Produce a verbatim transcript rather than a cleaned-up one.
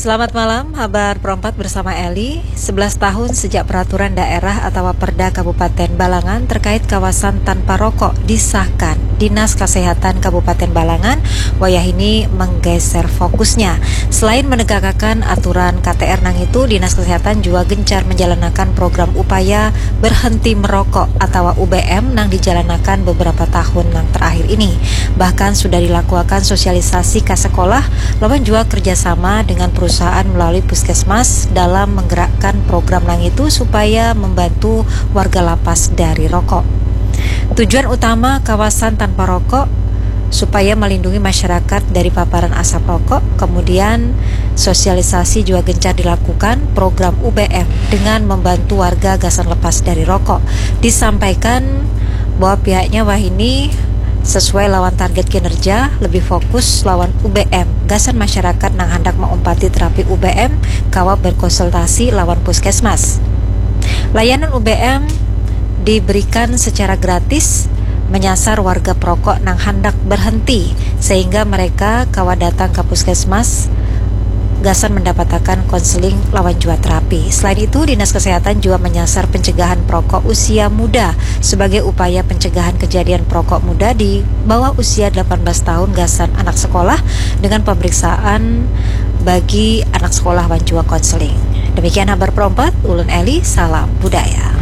Selamat malam, habar perempat bersama Eli. Sebelas tahun sejak peraturan daerah atau Perda Kabupaten Balangan terkait kawasan tanpa rokok disahkan, Dinas Kesehatan Kabupaten Balangan wayah ini menggeser fokusnya. Selain menegakkan aturan K T R nang itu, Dinas Kesehatan juga gencar menjalankan program upaya berhenti merokok atau U B M nang dijalankan beberapa tahun nang terakhir ini. Bahkan sudah dilakukan sosialisasi ke sekolah, lawan juga kerjasama dengan perusahaan melalui puskesmas dalam menggerakkan program nang itu supaya membantu warga lapas dari rokok. Tujuan utama kawasan tanpa rokok supaya melindungi masyarakat dari paparan asap rokok, kemudian sosialisasi juga gencar dilakukan program U B M dengan membantu warga gasan lepas dari rokok. Disampaikan bahwa pihaknya wahini sesuai lawan target kinerja, lebih fokus lawan U B M gasan masyarakat nang handak maumpati terapi U B M kawa berkonsultasi lawan puskesmas. Layanan U B M diberikan secara gratis menyasar warga perokok nang handak berhenti, sehingga mereka kawa datang ke puskesmas gasan mendapatakan konseling lawan jua terapi. Selain itu, Dinas Kesehatan juga menyasar pencegahan perokok usia muda sebagai upaya pencegahan kejadian perokok muda di bawah usia delapan belas tahun gasan anak sekolah dengan pemeriksaan bagi anak sekolah wan jua konseling. Demikian habar perompat, ulun Eli, salam budaya.